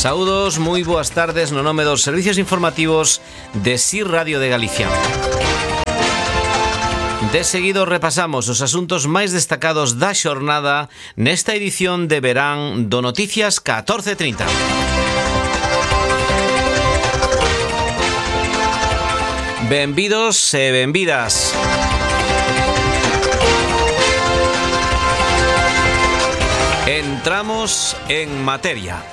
Saúdos, moi boas tardes no nome dos servicios informativos de SIR Radio de Galicia. De seguido repasamos os asuntos máis destacados da xornada nesta edición de verán do Noticias 14:30. Benvidos e benvidas. Entramos en materia.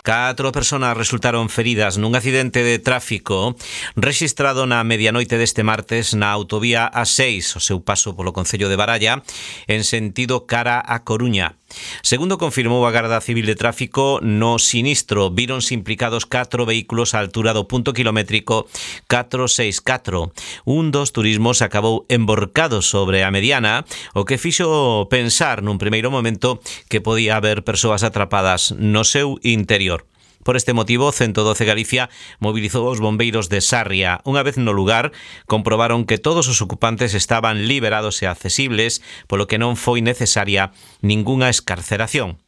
Catro persoas resultaron feridas nun accidente de tráfico rexistrado na medianoite deste martes na autovía A6, o seu paso polo concello de Baralla, en sentido cara a Coruña. Segundo confirmou a Garda Civil de Tráfico, no sinistro víronse implicados 4 vehículos á altura do punto kilométrico 464. Un dos turismos acabou emborcado sobre a mediana, o que fixo pensar nun primeiro momento que podía haber persoas atrapadas no seu interior. Por este motivo, 112 Galicia mobilizou os bombeiros de Sarria. Unha vez no lugar, comprobaron que todos os ocupantes estaban liberados e accesibles, polo que non foi necesaria ningunha excarceración.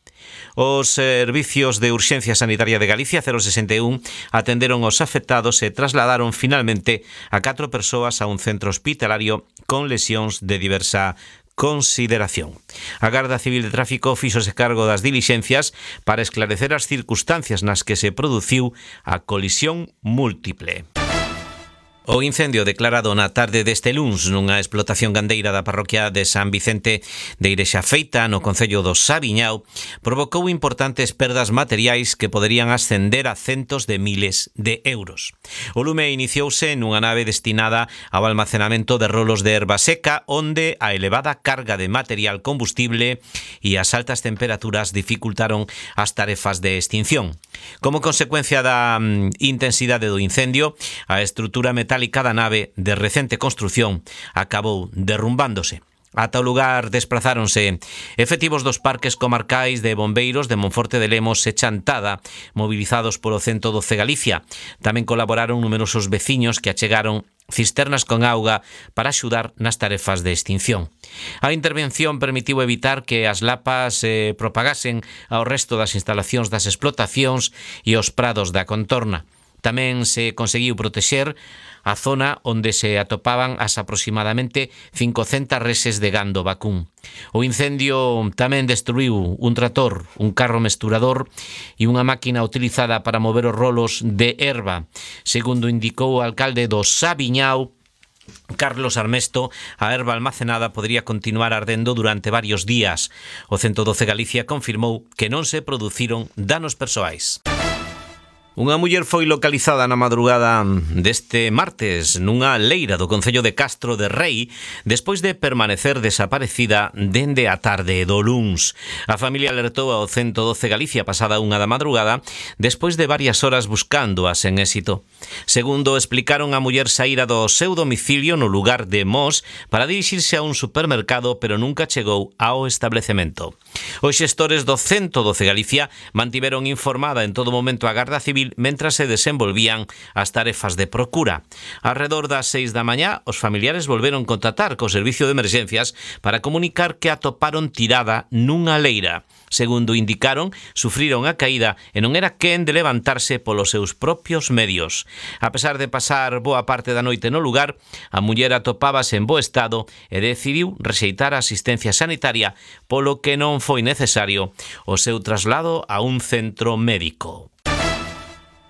Os servicios de urxencia sanitaria de Galicia 061 atenderon os afectados e trasladaron finalmente a 4 persoas a un centro hospitalario con lesións de diversa consideración. A Garda Civil de Tráfico fíxose cargo das dilixencias para esclarecer as circunstancias nas que se produciu a colisión múltiple. O incendio declarado na tarde deste luns nunha explotación gandeira da parroquia de San Vicente de Irexafeita, no concello do Sabiñao, provocou importantes perdas materiais que poderían ascender a centos de miles de euros. O lume iniciouse nunha nave destinada ao almacenamento de rolos de erva seca, onde a elevada carga de material combustible e as altas temperaturas dificultaron as tarefas de extinción. Como consecuencia da intensidade do incendio, a estrutura metálica da nave de recente construción acabou derrumbándose. Ata o lugar desplazáronse efectivos dos parques comarcais de bombeiros de Monforte de Lemos e Chantada, mobilizados polo 112 Galicia. Tamén colaboraron numerosos veciños que achegaron cisternas con auga para axudar nas tarefas de extinción. A intervención permitiu evitar que as lapas propagasen ao resto das instalacións das explotacións e os prados da contorna. Tamén se conseguiu protexer a zona onde se atopaban as aproximadamente 500 reses de gando vacún. O incendio tamén destruiu un trator, un carro mesturador e unha máquina utilizada para mover os rolos de erva. Segundo indicou o alcalde do Sabiñao, Carlos Armesto, a erva almacenada podría continuar ardendo durante varios días. O 112 Galicia confirmou que non se produciron danos persoais. Unha muller foi localizada na madrugada deste martes nunha leira do concello de Castro de Rei despois de permanecer desaparecida dende a tarde do luns. A familia alertou ao 112 Galicia pasada unha da madrugada despois de varias horas buscándoa sen éxito. Segundo explicaron, a muller saíra do seu domicilio no lugar de Mos para dirixirse a un supermercado, pero nunca chegou ao establecemento. Os xestores do 112 Galicia mantiveron informada en todo momento a Garda Civil mentras se desenvolvían as tarefas de procura. Arredor das 6 da mañá, os familiares volveron contactar co servicio de emergencias para comunicar que atoparon tirada nunha leira. Segundo indicaron, sufriron a caída e non era quen de levantarse polos seus propios medios. A pesar de pasar boa parte da noite no lugar, a muller atopábase en bo estado e decidiu rexeitar a asistencia sanitaria, polo que non foi necesario o seu traslado a un centro médico.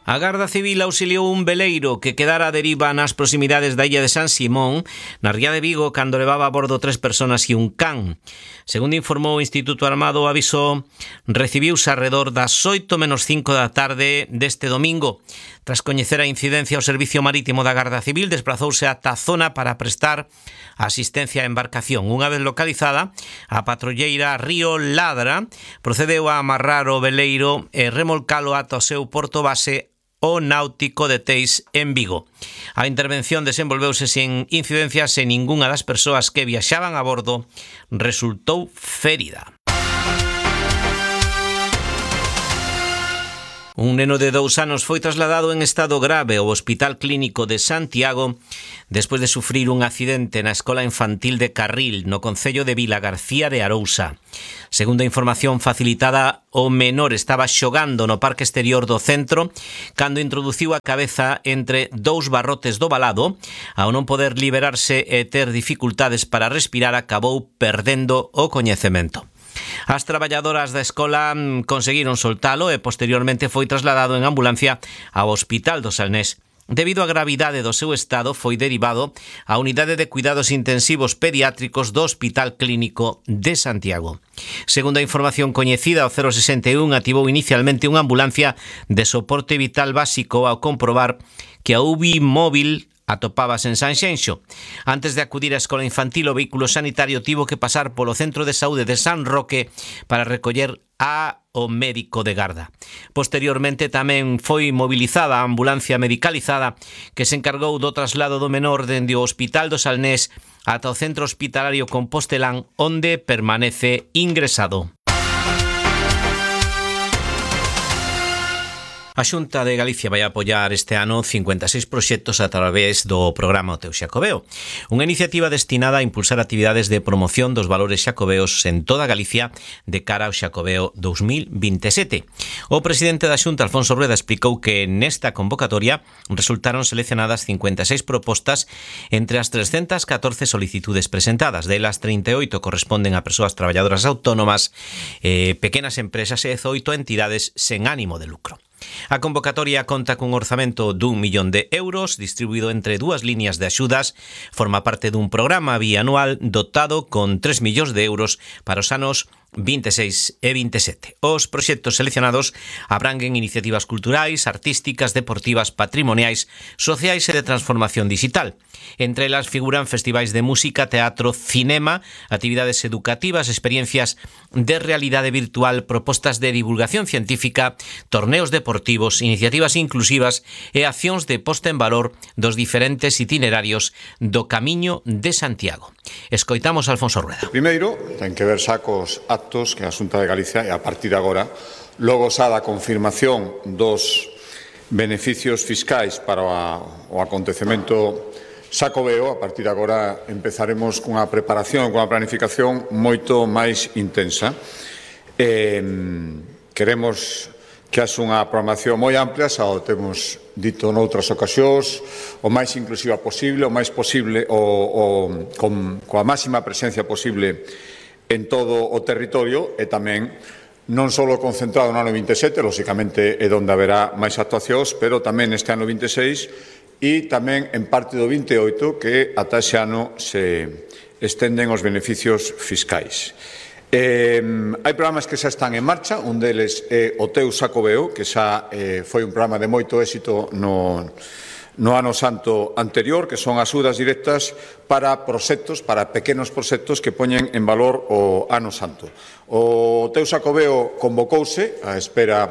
A Garda Civil auxiliou un veleiro que quedara a deriva nas proximidades da illa de San Simón, na ría de Vigo, cando levaba a bordo 3 persoas e un can. Segundo informou o Instituto Armado, o aviso recibiuse arredor das 8:05 da tarde deste domingo. Tras coñecer a incidencia, o Servicio Marítimo da Garda Civil desplazouse ata a zona para prestar asistencia á embarcación. Unha vez localizada, a patrulleira Río Ladra procedeu a amarrar o veleiro e remolcalo ata o seu porto base, o Náutico de Teis, en Vigo. A intervención desenvolveuse sen incidencias e ningunha das persoas que viaxaban a bordo resultou ferida. Un neno de 2 anos foi trasladado en estado grave ao Hospital Clínico de Santiago despois de sufrir un accidente na Escola Infantil de Carril, no concello de Vilagarcía de Arousa. Segundo a información facilitada, o menor estaba xogando no parque exterior do centro cando introduciu a cabeza entre 2 barrotes do valado. Ao non poder liberarse e ter dificultades para respirar, acabou perdendo o coñecemento. As traballadoras da escola conseguiron soltalo e posteriormente foi trasladado en ambulancia ao Hospital do Salnés. Debido á gravidade do seu estado, foi derivado á Unidade de Cuidados Intensivos Pediátricos do Hospital Clínico de Santiago. Segundo a información coñecida, o 061 activou inicialmente unha ambulancia de soporte vital básico ao comprobar que a UBI móvil atopábase en Sanxenxo. Antes de acudir á escola infantil, o vehículo sanitario tivo que pasar polo Centro de Saúde de San Roque para recoller ao médico de garda. Posteriormente tamén foi mobilizada a ambulancia medicalizada que se encargou do traslado do menor dende o Hospital do Salnés ata o Centro Hospitalario Compostelán, onde permanece ingresado. A Xunta de Galicia vai apoiar este ano 56 proxectos a través do programa O Teu Xacobeo, unha iniciativa destinada a impulsar actividades de promoción dos valores xacobeos en toda Galicia de cara ao Xacobeo 2027. O presidente da Xunta, Alfonso Rueda, explicou que nesta convocatoria resultaron seleccionadas 56 propostas entre as 314 solicitudes presentadas. Delas, 38 corresponden a persoas traballadoras autónomas, pequenas empresas e 18 entidades sen ánimo de lucro. A convocatoria conta cun orzamento d'1 millón de euros distribuído entre 2 líneas de axudas. Forma parte dun programa bianual dotado con 3 millóns de euros para os anos 26 e 27. Os proxectos seleccionados abranguen iniciativas culturais, artísticas, deportivas, patrimoniais, sociais e de transformación digital. Entre elas figuran festivais de música, teatro, cinema, actividades educativas, experiencias de realidade virtual, propostas de divulgación científica, torneos deportivos, iniciativas inclusivas e accións de posta en valor dos diferentes itinerarios do Camiño de Santiago. Escoitamos a Alfonso Rueda. Primeiro, ten que ver xa cos actos que a Xunta de Galicia, e a partir de agora, logo xa da confirmación dos beneficios fiscais para o acontecemento xacobeo, a partir de agora empezaremos cunha preparación, cunha planificación moito máis intensa. Queremos que haxe unha programación moi amplia, xa o temos dito noutras ocasións, o máis inclusiva posible, o máis posible, coa máxima presencia posible en todo o territorio e tamén non só concentrado no ano 27, lóxicamente é onde haberá máis actuacións, pero tamén este ano 26 e tamén en parte do 28 que ata ese ano se estenden os beneficios fiscais. Hai programas que xa están en marcha, un deles é o Teu Xacobeo, que xa foi un programa de moito éxito no ano santo anterior, que son axudas directas para proxectos, para pequenos proxectos que poñen en valor o ano santo. O Teu Xacobeo convocouse á espera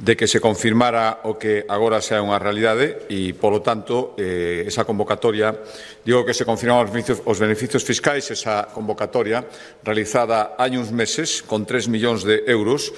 de que se confirmara o que agora xa é unha realidade e, polo tanto, esa convocatoria, digo que se confirmaron os beneficios fiscais, esa convocatoria realizada hai uns meses con 3 millóns de euros.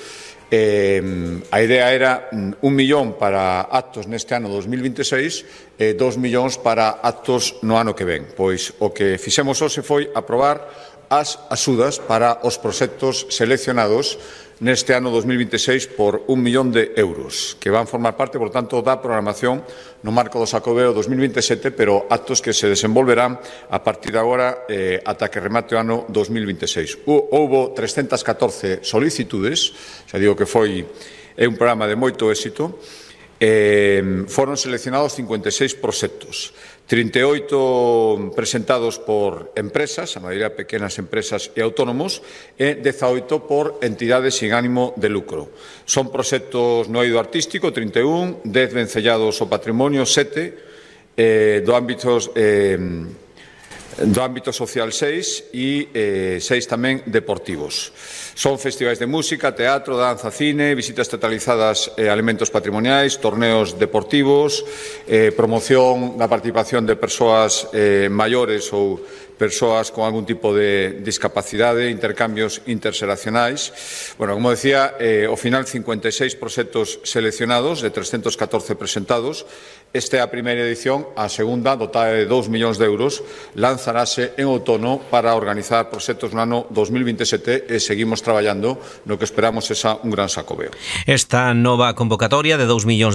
A idea era 1 millón para actos neste ano 2026 e 2 millóns para actos no ano que ven. Pois o que fixemos hoxe foi aprobar as axudas para os proxectos seleccionados neste ano 2026 por 1 millón de euros, que van formar parte, por tanto, da programación no marco do Xacobeo 2027, pero actos que se desenvolverán a partir de agora ata que remate o ano 2026. Houbo 314 solicitudes, xa digo que é un programa de moito éxito. Foron seleccionados 56 proxectos, 38 presentados por empresas, a maioría pequenas empresas e autónomos, e 18 por entidades sin ánimo de lucro. Son proxectos no eido artístico, 31, 10 vencellados ao patrimonio, 7, do ámbito social 6 e 6 tamén deportivos. Son festivais de música, teatro, danza, cine, visitas teatralizadas a elementos patrimoniais, torneos deportivos, promoción da participación de persoas maiores ou persoas con algún tipo de discapacidade, intercambios interxeracionais. Bueno, como decía, ao final 56 proxectos seleccionados de 314 presentados. Esta é a primeira edición, a segunda, dotada de 2 millóns de euros, lanzarase en outono para organizar proxectos no ano 2027 e seguimos traballando no que esperamos un gran sacobeo. Esta nova convocatoria de 2 millóns